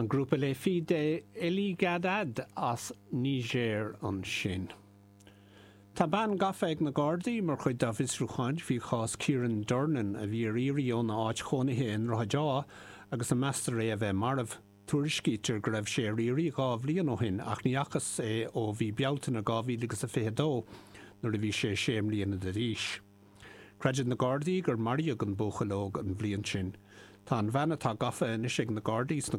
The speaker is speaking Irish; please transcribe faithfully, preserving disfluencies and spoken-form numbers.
An grúpa Les Filles de Eligadad as Niger ansin. Tá bean gafa ag na Gardaí mar chuid dá bhfiosrúcháin faoi chás Kieran Durnan a bhí ar iarraidh óna áit chónaithe i nDroichead Átha agus a meastar é a bheith marbh. Tuairiscítear go raibh sé ar iarraidh dhá bhliain ó shin ach ní fhacthas é ó mhí Bealtaine dhá mhíle agus a fiche dó nuair a bhí sé sé mbliana d'aois. Creideann na Gardaí gur maraíodh an buachaill óg an bhliain sin. Tá an bhean atá gafa anois ag na Gardaí sna